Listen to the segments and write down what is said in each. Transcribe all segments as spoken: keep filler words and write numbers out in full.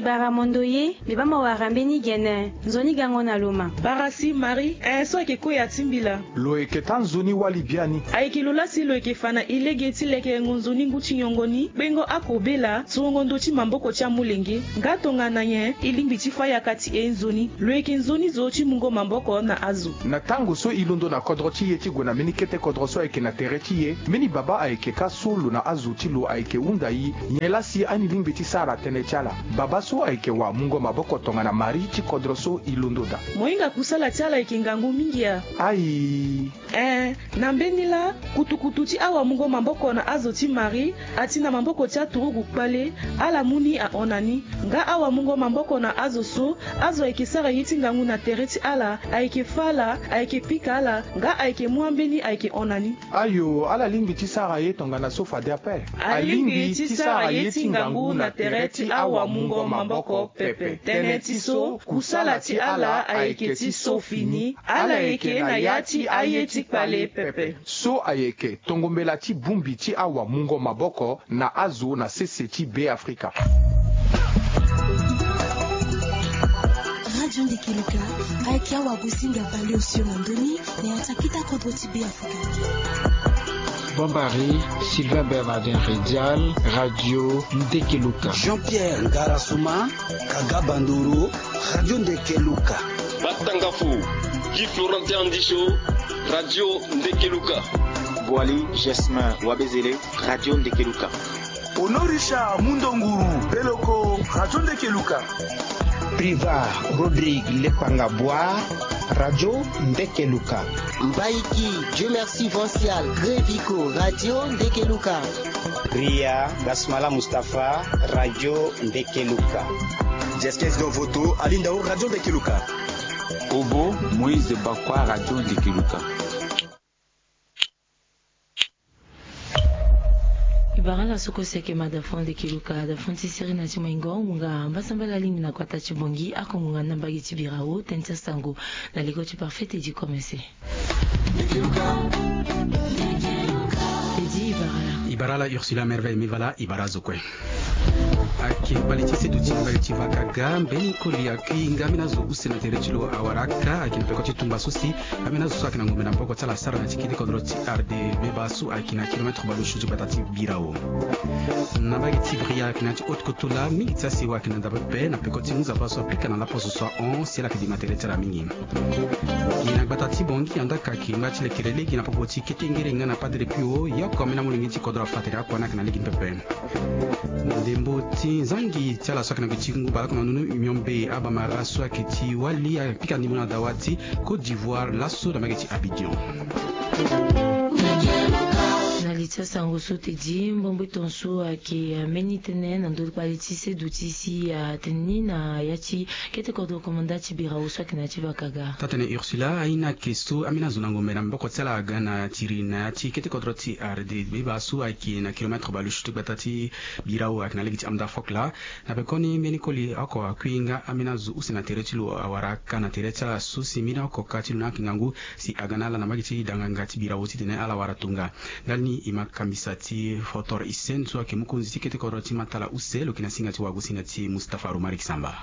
Bara mondo ye, mbi baa mo wara mbeni gene. Nzoni gango na lo ma. Bara si Marie, eh, so ayeke koya ti mbila. Lo yeke taa nzoni wali biani. Ayeke lo laa si lo yeke fa na e lege ti lekerengo nzoni ngu ti nyongo ni, kpengo akobela, surongo ndö ti maboko ti amolenge. Nga tongana nyen e lingbi ti fâ yaka ti e nzoni? Lo yeke nzoni zo ti mungo maboko na azo. Na tango so e londo na kodro ti e ti gue na mbeni kete kodro so ayeke na tere ti e, mbeni baba ayeke kâ so lo na azo ti lo ayeke hunda e. Nyen laa si ani lingbi ti sara tënë ti ala? Baba so ayeke wamungo maboko tongana Marie ti kodro so e londo daa. Mo hinga kusala ti ala ayeke ngangu mingi a? Ayi. Eh, na mbeni laa, kutukutu ti awamungo maboko na azo ti Marie, ati na maboko ti aturugu kpale, ala mu ni ahon na ni. Nga awamungo maboko na azo so, azo ayeke sara ye ti ngangu na tere ti ala, ayeke fâ ala, ayeke pika ala, nga ayeke mu ambeni ayeke hon na ni. Ayo, ala lingbi ti sara ye tongana so fade ape. Alingbi ti sara ye ti ngangu na tere ti awamungo maboko pepe. Tënë ti so, kusala ti ala ayeke ti so fini. Ala yeke na ya ti aye ti kpale pepe. So ayeke tongombela ti bongbi ti awamungo maboko na azo na sese ti Beafrika. Radio Ndekeluka, ayeke awagosinga baleosio na ndö ni na ya ti akita kodro ti Beafrika. Bombari, Sylvain Bernardin Redial, Radio Ndekeluka. Jean-Pierre Ngarasuma, Kaga Bandoro, Radio Ndekeluka. Batangafu, Guy Florentin Andisho, Radio Ndekeluka. Boali Jasmin Wabezele, Radio Ndekeluka. Honorisha Mundonguru Beloko, Radio Ndekeluka. Priva Rodrigue Lepanga Bois, Radio Ndekeluka. Mbaiki Dieu Merci Vancial Grevico, Radio Ndekeluka. Ria Basmala Mustapha, Radio Ndekeluka. Jeskes Dovoto Alindao, Radio Ndekeluka. Obo Moïse Bakwa, Radio Ndekeluka. E bara ala so kue si ayeke ma da fon Ndekeluka, da fon ti sirina ti moingo ngonga mbasambala alingbi na kota ti Bongi, ako ngonga na mbage ti bira wo tënë ti asango na leko ti parfait Teddy Komese. Teddy, e bara ala. E bara ala Ursula Merveille Mivala, e bara azo kue. Ayeke kpale ti seduti ti mbage ti Vakaga, mbeni koli akui nga ambeni azo use na tere ti lo awara aka, ayeke na peko ti tumba so si ambeni azo so ayeke na ngombe na maboko ti ala asara na ya ti kete kodro ti R D B baa so ayeke na kilomètre baleosio ti gbata ti bira wo. Na mbage ti Bria ayeke na ya ti haute kotola, mingi ti asewa ayeke na nda pepe na peko ti ngu nzapa so apika na laposo so ahon si ala yeke dima tere ti ala mingi. Gi na gbata ti Bongi, andaa ka ayeke ngba ti lekere lege na popo ti kete ngere nga na padre Pio, ye oko ambeni amolenge ti kodro afa tere oko ani ayeke na lege ni pepe. Ndembo ti nzangi ti ala so ayeke na gi ti ngu baleoko na ndoni miombe abamara so ayeke ti wali apika ndembo na dawa ti Côte d'Ivoire laso na mbage ti Abidjan. Na li ti asango so Teddy, mbombo ti tongaso ayeke mbeni tënë na ndö ti kpale ti seduti si atene ni na ya ti kete kodro komanda ti bira wo so ayeke na ya ti Vakaga. Taa-tënë Ursula, aye ni ayeke so ambeni azo na ngombe na maboko ti ala aga na tiri na ya ti kete kodro ti R D B baa so ayeke na kilomètre baleosio ti gbata ti bira wo ayeke na lege ti Amda Fokla. Na pekoni mbeni koli oko akui nga ambeni azo use na tere ti lo awara aka na tere ti ala so si mbeni oko ka ti lo ni ayeke ngangu si aga na ala na mbage ti danganga ti bira wo titene ala wara tonga. Ndali ni e ma kambisa ti Fotor Hissène so ayeke mokonzi ti kete kodro ti Matala use, lo yeke na singa ti wagosinga ti Mustapha Romaric Samba.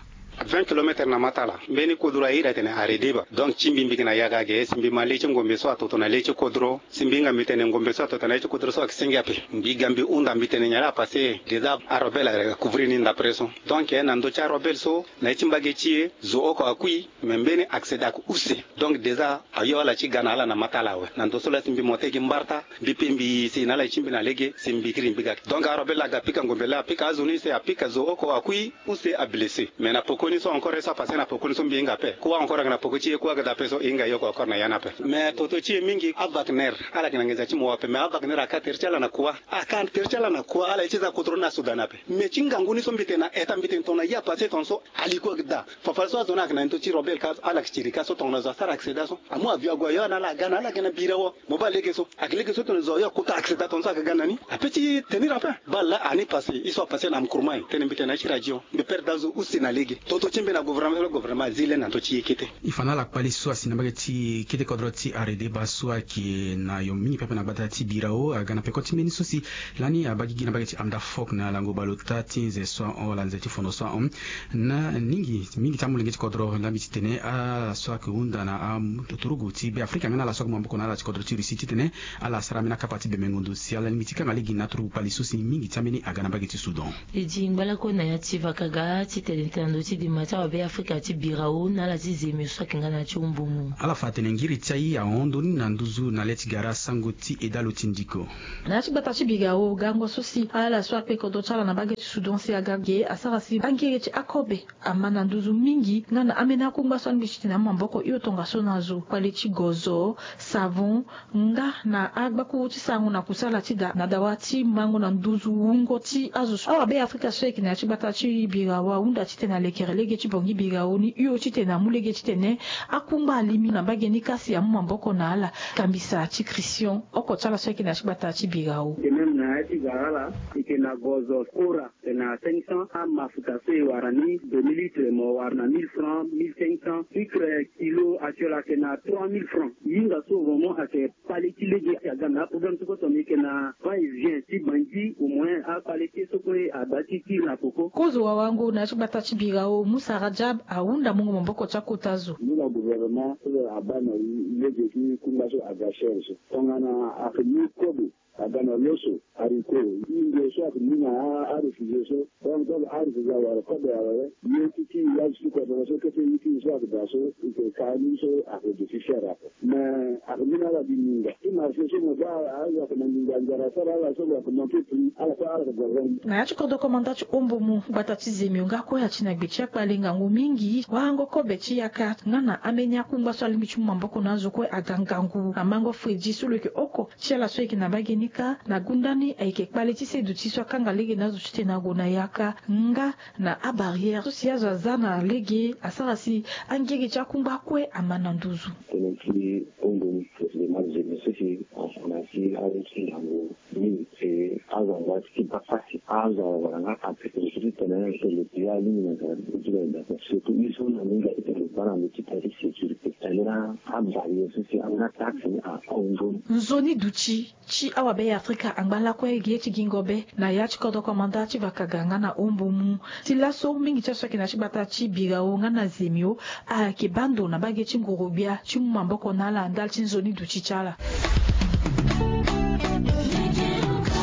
Vingt kilomètres na Matala, mbeni kodro aye iri atene Aredeba. Donc ti mbi mbi yeke na yaga ge si mbi ma le ti ngombe so atoto na le ti kodro. Si mbi hinga mbi tene ngombe so atoto na le ti kodro so ayeke senge ape. Mbi ga mbi hunda mbi tene nyen la apase. Déjà arobel acouvrir ni ndapre so. Donc na ndö ti arobel so na ye ti mbage ti e zo oko akui. Me mbeni accident ayeke use. Donc déjà ayo ala ti ga na ala na Matala awe. Na ndö so laa si mbi mo te gi mbarta. Mbi pe mbi si na ala ye ti mbi na lege si mbi kiri mbi ga. Donc arobel aga pika ngombe laa apika azo ni se apika zo oko akui. Use ablessé. Mais na pokoni so encore ye so apase na pokoni so mbi hinga ape. Kua encore aga na poko ti e kua aga daa ape so e hinga ye oko encore na ya ni ape. Mais toto ti e mingi aVagner. Ala yeke na nginza ti mo ape mais aVagner aka tere ti ala na kua. Aka tere ti ala na kua ala ye ti za kodro ni na Soudan ape. Mais ti ngangu ni so mbi tene na eta mbi tene tongana ye apase tongaso. Ali kua aga daa. Fafara so azo ni ayeke na ndö ti robel ka ala yeke tiri ka so tongana zo asara accident so. Amu avion ague ayo na ala aga na ala yeke na bira wo. Mo baa lege so. Ayeke lege so tongana zo ayo akota accident tongana so ayeke ga na ni. Ape ti tenir ape. Baa laa ani pase ye so apase na Nkrumah tene mbi tene na ye ti radio. Mbi perdre azo use na lege. Poto ti mbe na gouvernement ti lo, gouvernement azi le na ndö ti ye kete. E fa na ala kpali so asi na mbage ti kete kodro ti aredeba so ayeke na yo mingi pepe na gbata ti Birao aga na peko ti mbeni so si lani abaa gigi na mbage ti Amdafok na lango baleota ti nze so ahon wala nze ti fondo so ahon. Na mingi mingi ti amolenge ti kodro laa mbi ti tene ala so ayeke hunda na aturugu ti Beafrika nga na ala so ayeke mu maboko na ala ti kodro ti Russie titene ala sara ambeni akapa ti bemengo ndo si ala lingbi ti kanga lege na aturugu kpali so si mingi ti ambeni aga na mbage ti Soudan. E di ngbalako na ya ti vakaga titene tene na ndö ti dema ti awabe Afrika ti Birao na ala ti Zemio so ayeke nga na ya ti Ombomo. Ala fa atene ngiri ti aye ahon ndoni na nduzu na le ti gara sango ti edalo ti ndiko. Na ya ti gbata ti Birao gango so si ala so akpe kodro ti ala na mbage ti Soudan si aga ge asara si angiri ti akobe ama na nduzu mingi nga na ambeni akungba so alingbi titene amu maboko hio tongaso na zo kpale ti gozo, savon, nga na agbakuru ti sarango na kusala ti da na dawa ti mango na nduzu wungo ti azo so awabe Afrika so ayeke na ya ti gbata ti Birao ahunda titene alekere lege ti Bongi Birao ni hio titene amu lege titene akungba alimi na mbage ni ka si amu maboko na ala. Kambisa ti Christian oko ti ala so ayeke na ya ti gbata ti Birao. E même na ya ti gara ala e yeke na gozo kora. E na cinq cents, amafuta so e wara ni deux mille litres mo wara na mille francs, mille cinq cents. Sucre kilo actuel ayeke na trois mille francs. Hinga so vraiment ayeke kpale ti lege. Aga na aprogramme ti koto ni yeke na va et vient ti Bangui, au moins akpale ti ye so kue ada ti kiri na peko. Kozo wawango na ya ti gbata ti Birao, Musa Rajab ahunda mungo maboko ti akota zo. Ni na gouvernement so abaa na lege ti kungba so aga cher so. Tongana ayeke mu kobe aga na lo so, haricot, ingo so ayeke mu na aréfugié so. Donc, donc aréfugié awara kobe awe. Ye ti ti azo ti kodro so kete ye ti so ayeke daa so e yeke ka ni so ayeke duti cher ape. Mais ayeke mu na ala gi nginza ti marché so mo baa azo ayeke na nginza nzara asara ala so ayeke monté prix ala so ala yeke gongo. Na ya ti kodro komanda ti Ombomo gbata ti Zemio nga kue ati na gbe ti akpale ngangu mingi warango kobe ti yaka nga na ambeni akungba so alingbi ti mu maboko na azo kue aga ngangu amango fredi so lo yeke oko ti ala so ayeke na mbage ni kâ na gunda ni ayeke kpale ti se duti so akanga lege na azo titene ague na yaka nga na abarrière so si azo aza na lege asara si angege ti akungba kue ama na nduzu. Tënë ti Ombomo, président Zemio so si afa na ya ti azo ti ngangu mingi. E azo angba ti baa pasi azo awara nga ape tene so ti tene tene ti ya mingi na nzara ti la enda. Surtout i so na mingi ayeke tene baa na ndö ti tene ti sécurité tene na abarrière so si anga taxe ni ahon ndoni. Nzoni duti ti awabe Afrika angba lakue ge ti gingo be na ya ti kodro komanda ti vakaga nga na Ombomo. Ti laso mingi ti aso ayeke na ya ti gbata ti Birao nga na Zemio ayeke baa ndo na mbage ti nguru-gbia ti mu maboko na ala ndali ti nzoni duti ti ala.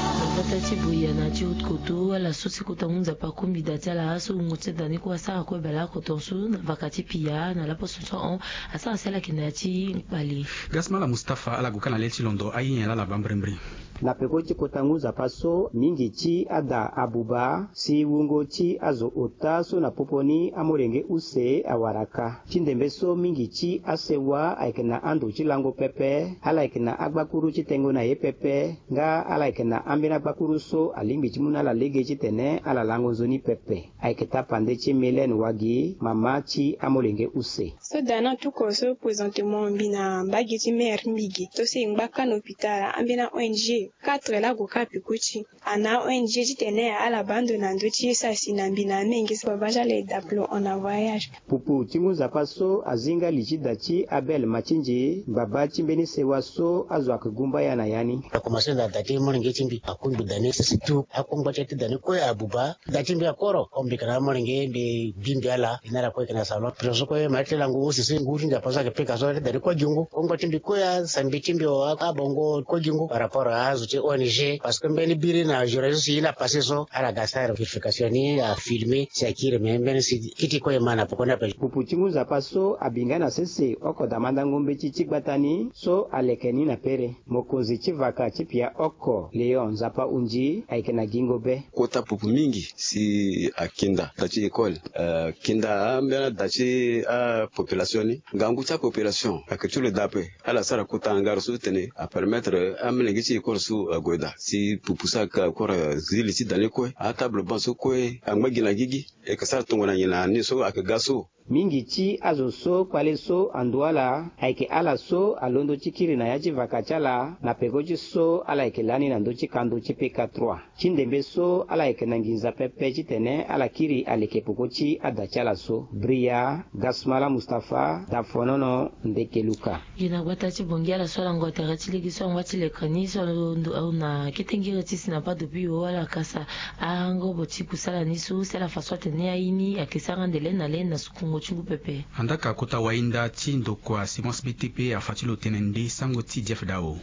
Na kota ti Buea na ti Haute-Kotto ala so ti kota ngu nzapa akombi da ti ala so wungo ti da ni kue asara kue baleoko tongaso na vaka ti pia na laposo so ahon. Asara si ala yeke na ya ti kpale. Gasmala Mustapha ala gue kâ na le ti londo aye nyen laa ala baa mbirimbiri. Na peko ti kota ngu nzapa so mingi ti ada abuba si wungo ti azo ota so na popo ni amolenge use awara kâ. Ti ndembe so mingi ti asewa ayeke na ando ti lango pepe, ala yeke na agbakuru ti tengo na ye pepe, nga ala yeke na ambeni agbakuru so alingbi ti mu na ala lege titene ala lango nzoni pepe. Ayeke tapande ti Mylène Wagi, mama ti amolenge use. So da ni atuko so présentement mbi na mbage ti mère ti mbi ge. To so e ngba kâ na hôpital, ambeni a-O N G quatre laa ague kâ peko ti ana a-O N G titene ala baa ndo na ndö ti ye so asi na mbi na amenge so babâ ti ala e dape lo hon na voyage. Pupu ti ngu nzapa so azi nga li ti da ti Abel Matindji, ngbaba ti mbeni sewa so azo ayeke gumba ya na ya ni. Akomanse na da ti molenge ti mbi, akungbi da ni sese tu akungba ti ya ti da ni kue abuba. Da ti mbi akoro, ko mbi yeke na amolenge mbi bi mbi ala, e na ala kue yeke na salon. Pression so kue ma ti lango use so ngu ti nzapa so ayeke pika so, da ni kue gi ngu. Kongba ti mbi kue, asambi ti mbi o, abongo kue gi ngu par rapport azo ti O N G, parce que mbeni biri na journée so si e na passé so, ala ga sara vérification ni, afilmé si akiri, me mbeni si kiti kue e ma na poko ni ape. Pupu ti ngu nzapa so abi nga na sese oko damandango mbeti ti gbata ni so aleke ni na pere. Mokonzi ti vaka ti pia oko, Léon Nzapa Undi, ayeke na gingo be. Kota pupu mingi si akinda da ti école, eh, kinda ambeni ada ti apopulation ni. Ngangu ti apopulation ayeke ti lo daa ape. Ala sara kota hangar so ti tene apermettre amolenge ti école so ague daa. Si pupu so ayeke encore zi li ti da ni kue, atable banc so kue angba gi na gigi. E yeke sara tongana nyen na ni so ayeke ga so. Mingi ti azo so kpale so andu ala ayeke ala so alondo ti kiri na ya ti vaka ti ala na peko ti so ala yeke lani na ndö ti kando ti P K trois. Ti ndembe so ala yeke na nginza pepe titene ala kiri aleke peko ti ada ti ala so. Bria Gasmala Mustapha, Dafonono, Ndeke Luka. Gi na gbata ti Bongi ala so ala ngua tere ti lege so angba ti leke ni so alondo na kete ngere ti si na bado bio ala kasa angobo ti kusala ni so si ala fa so atene aye ni ayeke sara ande le na le na sukungo ti ngu pepe. Andaka kota wainda ti ndokua Semence B T P afa ti lo tene nde sango ti Jeff Dao.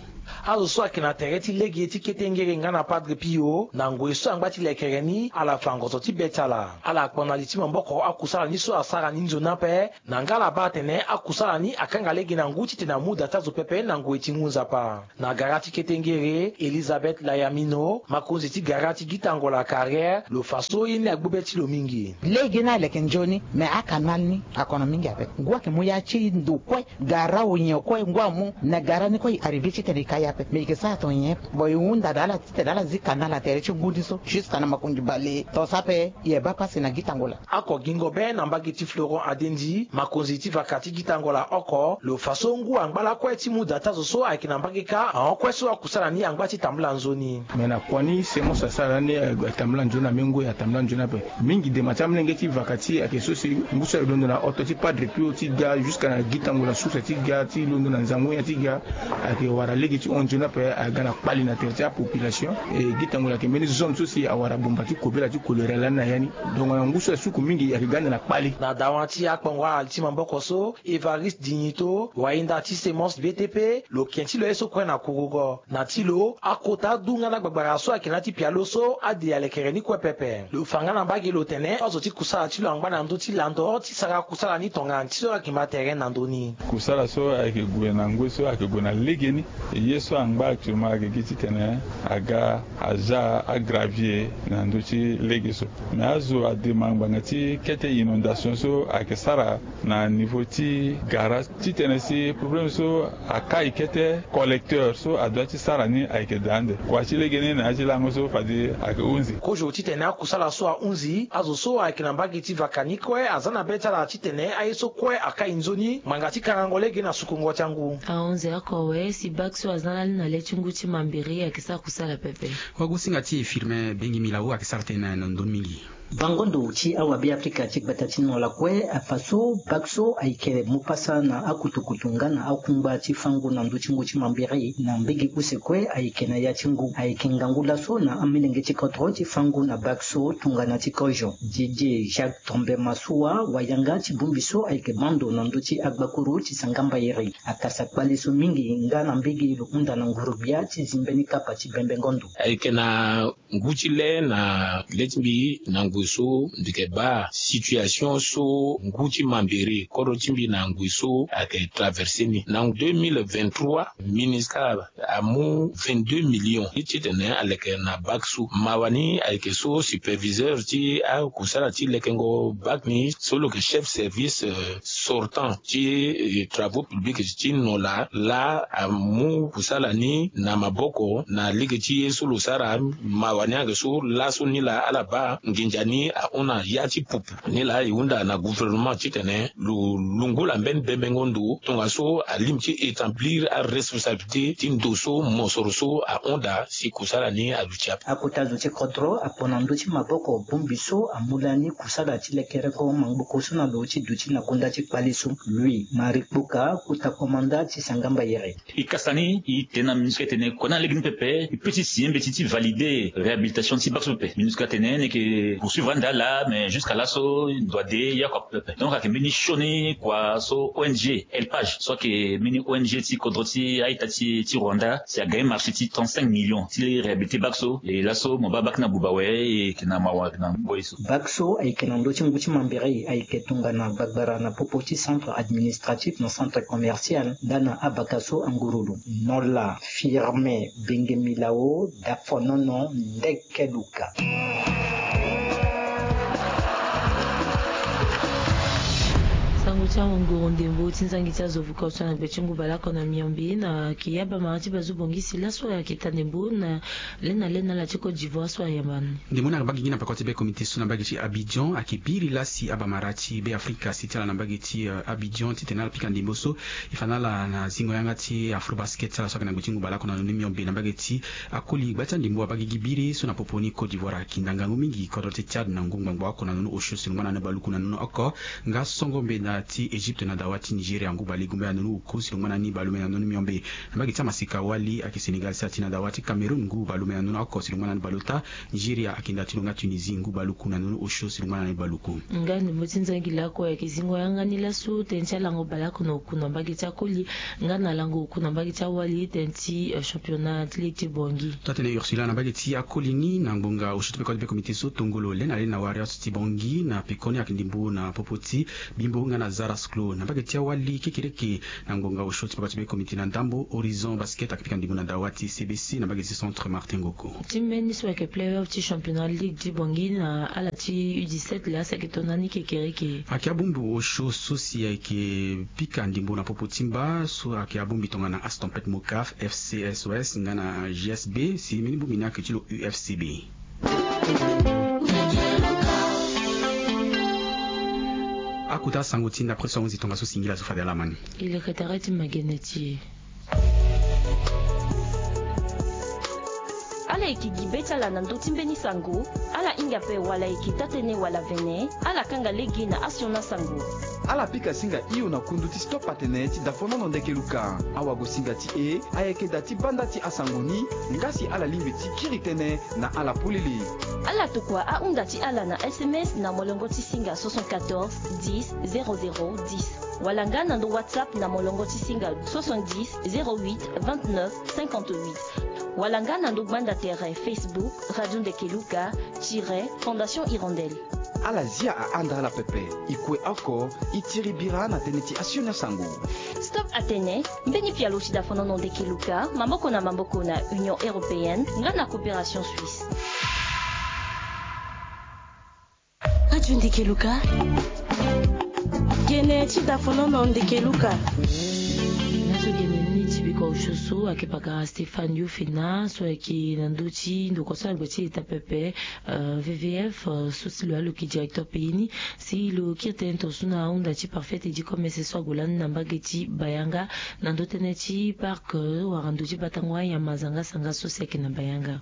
Azo so ayeke na tere ti lege ti kete ngere nga na Padre Pio na ngoi so angba ti lekere ni ala fa ngozo ti be ti ala. Ala kpona li ti maboko akusala ni so asara ni nzoni ape. Na nga ala baa atene akusala ni akanga lege na ngu titene amu da ti azo pepe na ngoi ti ngu nzapa. Na gara ti kete ngere Elisabeth Layamino, makonzi ti gara ti Gitangola Carrière, lo fa so ye ni agbu be ti lo mingi. Lege ni aleke nzoni, me akanal ni akono mingi ape. Ngu ayeke mu ya ti ndo kue, gara onyen kue ngu amu. Na gara ni kue e arrivé titene e ka ya ape, me e yeke sara tonga nyen? Bon, e hunda na ala titene ala zi kanal na tere ti ngu ni so jusqu'à na makonzi bale. Tongaso ape e baa pasi na Gitangola. Oko gingo be na mbage ti Florent Adendi, makonzi ti vaka ti Gitangola oko, lo fa so ngu angba lakue ti mu da ti azo so ayeke na mbage kâ ahon kue so akusala ni angba ti tambula nzoni. Me na kua ni Semence asara ni atambula nzoni na me ngu atambula nzoni ape. Mingi dema ti amolenge ti vaka ti e ayeke so si ngu so ayeke londo na oto ti Padre Pio ti ga jusqu'à na Gitangola source ti ga ti londo na Nzangunya ti ga. Ayeke wara lege ti hon nzoni ape aga na kpali na tere ti apopulation. E Gitangola ayeke mbeni zone so si awara bumba ti kobela ti kolera lani na ya ni. Donc na ngu so asuku mingi ayeke ga ande na kpali. Na dawa ti akpongo ala ti maboko so, Evariste Dignito, wainda ti Semence B T P, lo ken ti lo ye so kue na kurugo. Na ti lo, akota du nga na gbagbara so ayeke na ya ti pialo so ade alekere ni kue pepe. Lo fa nga na mbage lo tene azo ti kusala ti lo angba na ndö ti lando ti sara kusala ni tongana ti so ayeke ma tere na ndö ni. Kusala so ayeke gue na ngoi so ayeke gue na legeni. E ye so angba actuellement ayeke gi titene aga aza agravier na ndö ti lege so. Me azo adema ngbanga ti kete inondation so ayeke sara na niveau ti gara titene si problème so akai kete collecteur so adoit ti sara ni ayeke daa ande. Kua ti legeni na ya ti lango so fade ayeke hunzi. Kozo titene akusala so ahunzi, azo so ayeke na mbage ti vaka ni kue aza na be ti ala titene aye so kue akai nzoni ngbanga ti karango lege na sukungo ti angu. Ahunzi oko awe si bak so aza na le na le ti ngu ti mambiri ayeke sara kusala pepe. Wagosinga ti e Firmin Bengi Milao ayeke sara tënë na ndoni mingi. Bango ndo ti awabe Afrika ti gbata ti Nola kue afa so bak so ayeke mu pasa na akutukutu nga na akungba ti fango na ndö ti ngu ti mambiri na mbege use kue ayeke na ya ti ngu. Ayeke ngangu laso na amolenge ti kodro ti fango na bak so tongana ti kozo. Didier Jacques Tombe Masua, wayanga ti bongbi so ayeke bando na ndö ti agbakuru ti sanga mbayere, akasa kpale so mingi nga na mbege lo hunda na nguru-gbia ti zi mbeni kapa ti bembengo ndo. Ayeke na ngu ti le na le ti mbi na ngoi so mbi yeke baa situation so ngu ti mambere kodro ti mbi na ngoi so ayeke traverse ni. Na deux mille vingt-trois, MINUSCA amu vingt-deux millions ti titene aleke na bak so. Mawa ni ayeke so superviseur ti akusala ti lekengo bak ni so lo yeke chef service, euh, sortant ti, eh, travaux publics ti Nola laa amu kusala ni na maboko na lege ti ye so lo sara. Mawa ni ayeke so laso ni laa ala baa nginza ni ahon na ya ti pupu. Ni laa e hunda na gouvernement titene lo lungula mbeni bembengo ndo tongaso alingbi ti établir aresponsabilité ti ndo so mosoro so ahon daa si kusala ni aluti ape. Akota zo ti kodro apo na ndö ti maboko bongbi so amu lani kusala ti lekereko mangboko so na lo ti duti na konda ti kpale so. Louis Marie Kpoka, kota komanda ti sanga mbayere. E kasa ni e tene na MINUSCA tene kua ni na lege ni pepe e peut ti signer mbeti ti valider réhabilitation ti bak so pepe. MINUSCA tene ni yeke poursuivre ande ala, mais jusqu'à laso ndo ade ye oko ape pepe. Donc ayeke mbeni sioni kua so O N G Elpage so ayeke mbeni O N G ti kodro ti a-ita ti, ti Rwanda si aga marché ti trente-cinq millions ti réhabiliter bak so. E laso mo baa bak ni abuba awe, e yeke na mawa na ngoi so. Bak so ayeke na ndö ti ngu ti mambere ayeke tongana gbagbara na popo ti centre administratif na centre commercial nga na abaka so angurulu. Nola Firmin Bengemilao, Dafonono, Ndekeluka. Sango ti Ngoro ndembo ti nzangi ti azo vuka so na gbe ti ngu baleoko na miombe na ke abamara ti bazu bongisi laso ayeke ta ndembo na lena lena ala ti Côte d'Ivoire so ayamba ni. Ndembo ni ayeke baa gigi na peko ti be komite so na mbage ti Abidjan ayeke biri lasi abamara ti Beafrika si ti ala na mbage ti Abidjan titene ala pika ndembo so e fa na ala na zingo yanga ti Afrobasket ti ala so ayeke na gbe ti ngu baleoko na ndoni miombe na mbage ti akoli gba ti andembo abaa gigi biri so na popo ni Côte d'Ivoire ayeke nda ngangu mingi kodro ti Tchad na ngu ngbangbo oko na ndoni osio si lungba na ni baluku na ndoni oko. Nga songo mbeda ti Egypte na dawa ti Nigeria ngu balegumbaya na ndoni oku si lungba na ni balume na ndoni miombe. Na mbage ti amasika wali ayeke Sénégal si ati na dawa ti Cameroun ngu balume na ndoni oko si lungba na ni baleota. Nigeria ayeke nda ti lo nga Tunisie ngu baluku na ndoni osio si lungba na ni baluku. Nga ndembo ti nzangi laoko ayeke zingo yanga ni laso tënë ti alango baleoko na oku na mbage ti akoli nga na lango oku na mbage ti awali tënë ti championnat ti ligue ti Bangui. Taa-tënë Ursula na mbage ti akoli ni na ngbonga osio ti peko ti be komite so tongolo lena lena Warriors ti Bangui na pekoni ayeke ndembo na popo ti Bimbo nga na Zara Sclo na mbage ti awali kekereke. Na ngbonga osio ti peko ti be komite na ndambo Horizon Basket ayeke pika ndembo na dawa ti C B C na mbage ti Centre Martin Ngoko. Ti mbeni so ayeke playoff ti championnat ligue ti Bangui na ala ti U dix-sept laa si ayeke tongana ni kekereke. Ayeke abongbi osio so si ayeke pika ndembo na popo ti mba so ayeke abongbi tongana As Tempête Mocaf, F C S O S nga na G S B si mbeni bongbi ni ayeke ti lo U F C B. Akota sango ti nda après so ahunzi tongaso singila so fade ala ma ni. E leke tere ti magene ti e. Ala yeke gi be ti ala na ndö ti mbeni sango. Ala hinga ape wala e yeke taa-tënë wala vene. Ala kanga lege na asioni asango. Ala pika singa hio na kundu ti Stop Atene ti dafonono Ndeke Luka. Awagosinga ti e ayeke da ti banda ti asango ni. Nga si ala lingbi ti kiri tënë na ala polele. Ala tokua ahunda ti ala na S M S na molongo ti singa soixante-quatorze dix zéro zéro dix. Wala nga na ndo WhatsApp na molongo ti singa soixante-dix zéro huit vingt-neuf cinquante-huit. Wala nga na ndo gbanda tere Facebook Radio Ndeke Luka tiret Fondation Hirondelle. Ala zia ahanda ala pepe. E kue oko e tiri bira na tënë ti asioni asango. Stop Atene, mbeni pialo ti dafonono Ndeke Luka, maboko na maboko na Union Européenne nga na Coopération Suisse. Radio Ndeke Luka. Gene ti dafonono Ndeke Luka. Laso gene ni ti bikua osio so ayeke pakara Stéphane Yofena so ayeke na ndö ti ndokua so ala gbe ti eta pepe, euh, V V F, euh, so si lo yeke directeur pays ni, si lo kiri tënë tongaso na ahunda ti Parfait Teddy Commerce so ague lani na mbage ti Bayanga na ndö tënë ti parc, euh, wala ndö ti batango anyama zanga sanga so si ayeke na Bayanga.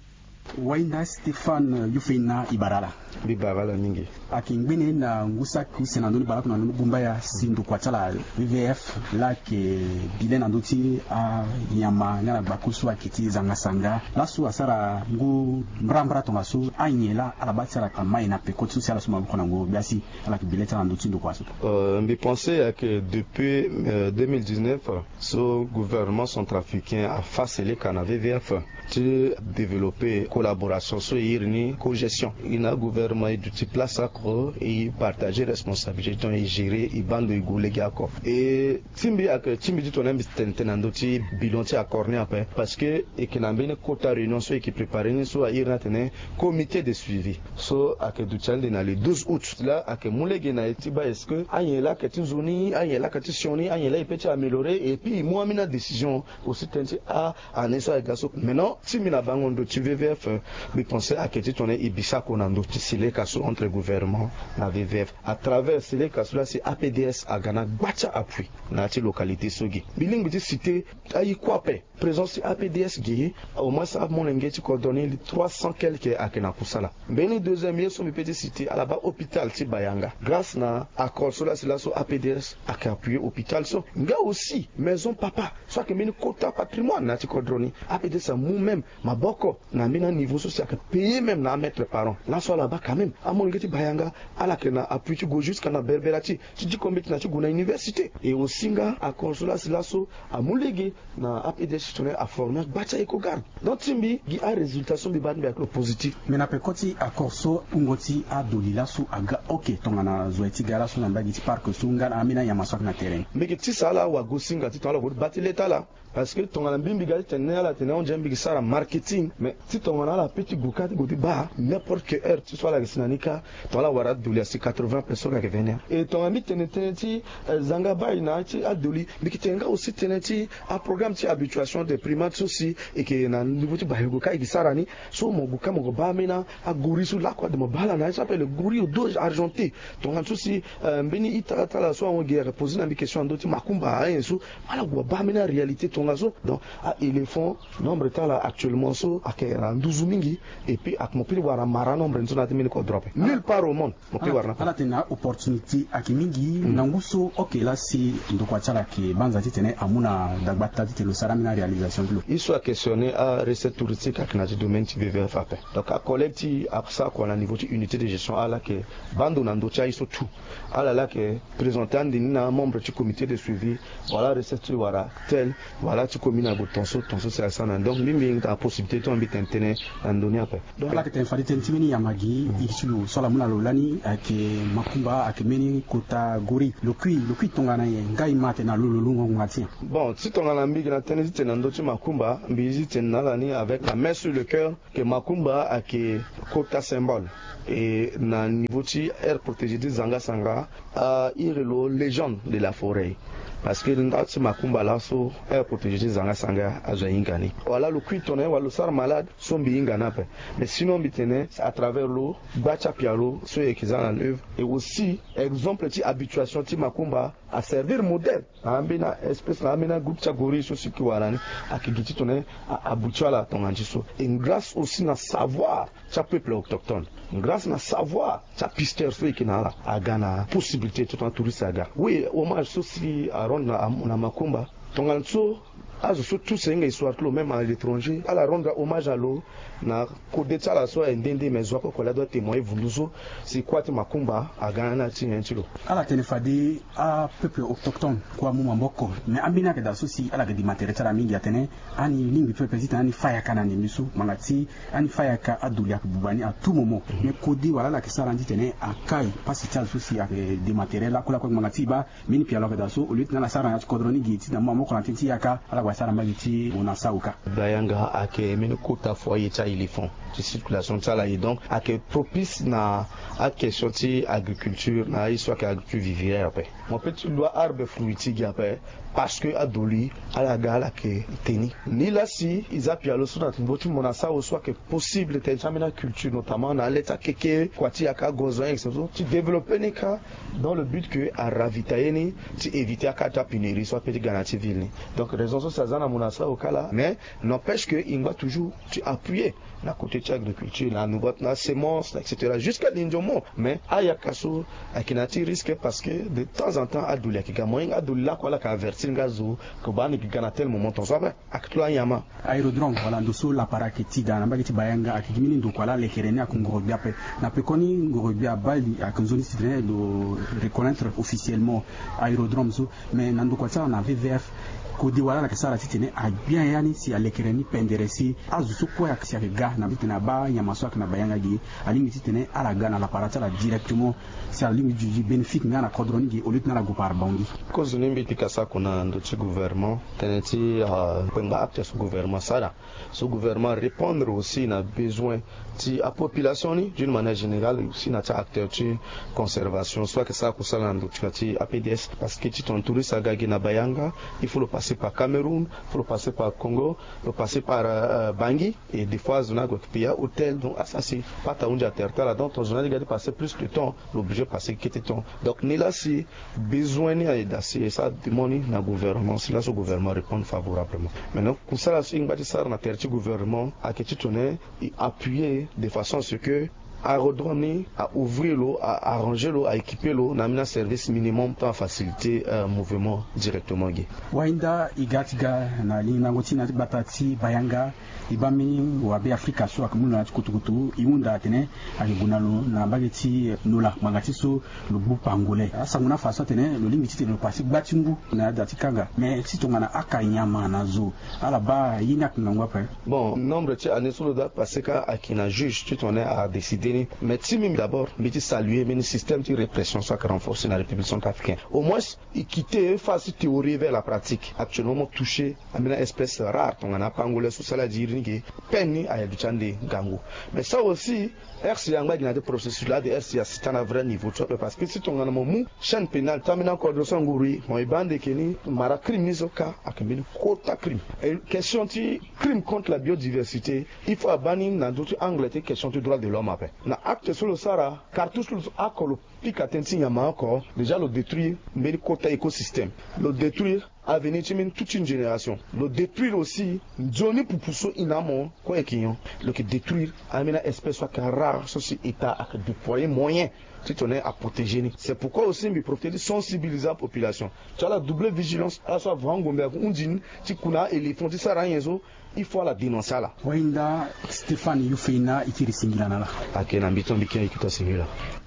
Wainda Stéphane Yofena, e bara ala. Mbi bara ala mingi. Ayeke ngbene na ngu saki use na ndö ni baleoko na ndö ni gumbaya si ndokua ti ala V V F laa ayeke bi le na ndö ti anyama nga na gbako so ayeke ti zanga sanga. Laso asara ngu mbrambra tongaso, anyen laa ala baa ti ala amai na peko ti so si ala so maboko na ngu gbia si ala yeke bi le ti ala na ndö ti ndokua so? Euh, mbi pense ayeke depuis, euh, deux mille dix-neuf, so gouvernement centrafricain afa seleka na V V F ti développer collaboration so e iri ni cogestion. E na gouvernement e duti place oko, e partager responsabilité, donc e gérer, e baa ndo e gue lege oko. E ti mbi ayeke ti mbi ti tongana mbi tene tënë na ndö ti bilan ti accord ni ape, parce que e yeke na mbeni kota réunion so e yeke préparer ni so a iri ni atene comité de suivi. So ayeke duti ande na le douze août. Laa ayeke mu lege na e ti baa est-ce que anyen laa ayeke ti nzoni, anyen laa ayeke ti sioni, anyen laa e peut ti améliorer, et puis e mu ambeni adécision aussi tënë ti a année so ayeke ga so. Maintenant ti mbi na bango ndo ti V V F, euh, mbi pense ayeke ti tongana e bi sako na ndo ti seleka so entre gouvernement na V V F. À travers seleka so laa si A P D S aga na gba ti appui na ya ti localité so ge. Mbi lingbi ti citer aye kue ape. Présence ti A P D S ge, au moins amolenge ti kodro ni trois cents quelque ayeke na kusala. Mbeni deuxième ye so mbi peut ti citer ala baa hôpital ti Bayanga. Grâce na accord so laa si laso A P D S ayeke appuyer hôpital so. Nga aussi maison papa so ayeke mbeni kota patrimoine na ya ti kodro ni. A P D S amu même maboko na mbeni aniveau so si ayeke payer même na amètre par an. Laso ala baa quand même amolenge ti Bayanga ala yeke na appui ti gue jusque na Berbera ti, ti diko mbeti na ti gue na université. Et aussi nga accord so laa si laso amu lege na A P D S ti tongana aformer agba ti a-écogarde. Donc ti mbi gi arésultat so mbi baa ti mbi ayeke lo positif. Mais na peko ti accord so wungo ti adoli laso aga oke tongana zo aye ti ga laso na mbage ti parc so nga na ambeni anyama so ayeke na terrain? Mbi yeke tisa ala wagosinga ti tongana ala gue ti baa ti le ti ala. Parce que tongana mbi mbi ga ti tene ni ala tene ahon ndia mbi yeke sara marketing, mais ti tongana Tongana ala pe ti gue kâ ti gue ti baa n'importe quelle heure ti so ala yeke si na ni kâ. Tongana ala wara adoli asi quatre-vingts personnes ayeke venir. E tongana mbi tene tënë ti zanga baa e na ya ti adoli, mbi yeke tene nga aussi tënë ti aprogramme ti habituation des primates so si e yeke na niveau ti baa e gue kâ e yeke sara ni. So mo gue kâ mo yeke baa ambeni agori so lakue ade mo baa ala na ya so appelle le gori au dos argenté. Tongana so si mbeni ita ti ala so ahon gi ayeke poser na mbi question na ndö ti makumba ayen so. Ala gue abaa ambeni aréalité tongaso. Donc a-éléphant, nombre ti ala actuellement so ayeke na nduzu mingi. Et puis ayeke mo pe ti wara mara nombre ni so na ya ti mbeni kodro ape nulle part au monde. Mo pe wara na ala tene na opportunité ayeke mingi na ngu so. Ok, la si ndokua ti ala ayeke banza titene amu na dagbata titene lo sara ambeni aréalisation ti lo. Ye so ayeke questionner arecette touristique ayeke na ya ti domaine ti V V F ape. Donc acollègue ti e asara kua na niveau ti unité de gestion ala yeke baa ndo na ndö ti aye so tout. Ala laa ayeke présenter ande ni na amembre ti comité de suivi. Voilà recette ti wara tel. Voilà ti commune ague tonso tonso si asara na ni. Donc mbi mbi na possibilité ti mbi tene tënë na ndö ni ape. Donc ala yeke tene fade tënë ti mbeni yama gi iri ti lo so ala mu na lo lani ayeke makumba ayeke mbeni kota gori. Lo kui lo kui tongana nyen? Nga e ma atene na lo lo lungo ngbanga ti nyen? Bon, si tongana mbi yeke na tënë ti tene na ndö ti makumba, mbi zi tene na ala ni avec la main sur le cœur, que makumba ayeke kota symbole. E na niveau ti aire protégée ti zanga sanga, a iri lo légende de la forêt. Parce que nda ti makumba laso aire protégée ti zanga sanga azo ahinga ni. Wala lo kui tongana nyen wala lo sara malade, so mbi hinga ni ape. Mais sinon mbi tene à travers lo gba ti apialo so e yeke za na neuve. Et aussi exemple ti habituation ti makumba aservir modèle na ambeni aespèce na ambeni agroupe ti agori so si yeke wara ni. Ayeke gi ti tongana nyen? Abuti ala tongana ti so. Et grâce aussi na savoir ti apeuple autochtone, grâce na savoir ti apisteur so e yeke na ala, aga na possibilité ti tongana touriste aga. Oui, hommage so si arendre na makumba tongana so azo so tous e hinga histoire ti lo même à l'étranger ala rendre hommage à lo. Na kode ti ala so aye nde nde mais zo akue kue laa adoit témoigner vundu so si kuâ ti makumba aga na ni na ya ti nyen ti lo. Ala tene fade apeuple autochtone kue amu maboko. Mais ambeni ayeke daa so si ala yeke dema tere ti ala mingi atene ani lingbi peuple titene ani fâ yaka na ndembe so ngbanga ti ani fâ yaka adoli ayeke buba ni à tout moment. Mais kode wala ala yeke sara ni titene akai pasi ti ala so si ayeke dema tere lakue lakue ngbanga ti e baa mbeni pialo ayeke daa so au lieu ti na ala sara na ya ti kodro ni gi ti na mu maboko na tënë ti yaka ala gue asara mbage ti mo na sawu kâ. Bayanga ayeke mbeni kota foyer ti a-éléphant ti circulation ti ala ye donc ayeke propice na aquestion ti agriculture na aye so ayeke agriculture vivrière ape. Mo pe ti lu a-arbre fruitier gi ape parce que adoli ala ga ala yeke te ni. Nilaa si e za pialo so na ndembo ti mo na sawu so ayeke possible tënë ti ambeni aculture notamment na ale ti akeke kua ti yaka agozo ayen so ti développer ni kâ. Dans le but que a ravitailler ni ti éviter akâ ti apénurie so ape ti ga na ya ti ville ni. Donc raison so si aza na mo na sawu kâ laa mais n'empêche que e ngba toujours ti appuyer na côté ti agriculture na nouveau na semence na et cetera jusqu'à lindiomon. Mais ayaka so ayeke na ya ti risque parce que de temps en temps adoli ayeke ga moyen adoli lakue ala yeke avertir nga zo. Ke baa ni yeke ga na tel moment tonso ape. Ayeke ti lo anyama. Aérodrome wala ndo so lapara ayeke ti daa na mbage ti bayanga ayeke gi mbeni ndokua laa lekere ni ayeke ngoro gbia ape. Na pekoni ngoro gbia abaa li ayeke nzoni titene lo reconnaître officiellement aérodrome so. Mais na ndokua ti ala na V V F kode wala ala yeke sara titene agbia ya ni si alekere ni pendere si azo so kue ayeke si ayeke ga na titene abaa nyama so ayeke na bayanga gi alingbi titene ala ga na lapara ti ala directement. Si ala lingbi duti bénéfique nga na kodro ni gi au lieu titene ala gue par bangi. Kozo ni mbi pika sako na ndö ti gouvernement tënë ti kpengba acte so gouvernement asara. So gouvernement arépondre aussi na besoin ti apopulation ni d'une manière générale aussi na ti acteur ti conservation so ayeke sara kusala na ndö ti apds parce que ti tongana touriste aga gi na bayanga il faut lo passer par cameroun, il faut lo passer par congo, lo passer par bangi. Et des fois azo ni ague yeke payer ahôtel donc asara si pata ahunzi atere ti ala donc tongana azo ni adi ga ti passer plus de temps lo obligé passer kete temps. Donc nilaa si besoin ni aye daa si e sara demande ni na gouvernement si laso gouvernement arépondre favorablement. Maintenant kusala so e ngba ti sara na tere ti gouvernement ayeke ti tongana e appuyer de façon à ce que aérodrome ni a ouvrir lo a arranger lo a équiper lo na ambeni aservice minimum tant a faciliter mouvement directement ge. Wahinda e ga ti ga na lingango ti na ti gbata ti bayanga. E baa mbeni wabe afrika so ayeke mu lo na ya ti kutukutu e hunda atene ayeke gue na lo na mbage ti nola ngbanga ti so lo gbu pangolais asango ni afa so atene lo lingbi titene lo pase gba ti ngu na ya da ti kanga mais si tongana aka nyama na zo ala baa ye ni ayeke ngangu ape. Bon nombre ti année so lo doit pase kâ ayeke na juge ti tongana a décider. Mais ti mimi d'abord mbi ti saluer mbeni système ti répression so ayeke renforcer na république centrafricaine. Au moins il quitter face ti théorie vers la pratique. Actuellement mo toucher ambeni espèce rare tongana apangole so sala diri ni ke peine ni aye duti ande ngangu. Mais ça aussi, rc angba gi na ti processus laa de rc asi ti na vrai niveau ti ape parce que si tongana mo mu chaîne pénale ti ambeni accord so anguru e mo e baa ande ke ni mara crime ni so ka ayeke mbeni kota crime. Et question ti crime contre la biodiversité, il faut abaa ni na ndö ti angle ti question ti droit de l'homme ape. Na acte so lo sara cartouche so lo so oko lo pika tënë ti nyama oko déjà lo détruire mbeni kota écosystème, lo détruire avenir ti mbeni toute une génération, lo détruire aussi nzoni pupu so e na amo. Kue e yeke nyon? Lo yeke détruire ambeni espèce so ayeke rare so si état ayeke déployer moyen ti tene aprotéger ni. C'est pourquoi aussi mbi profiter ti sensibiliser apopulation ti ala doubler vigilance. Ala so avangombe ayeke hundi ni ti ku na aéléphant ti sara anyen so il faut ala dénoncer ala. Wahinda Stéphane Yufeina e tiri singila na ala. Ayeke na mbi ti ambiki ayeke ta singila.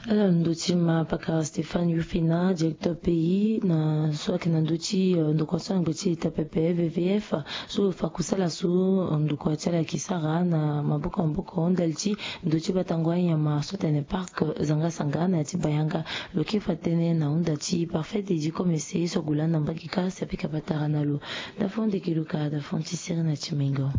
Ala ndö ti ma pakara Stéphane Yufeina, directeur pays na so ayeke na ndö ti ndokua so angbe ti état pepe vvf, so lo fa kusala so ndokua ti ala ayeke sara na maboko maboko ndali ti ndö ti batango anyama so atene parc zanga sanga na ya ti bayanga. Lo kiri fa tënë na hunda ti parfait dédi komese so ague lani na mbage kâ si apika patara na lo. Dafon deke luka dafon ti siri na ti mengo.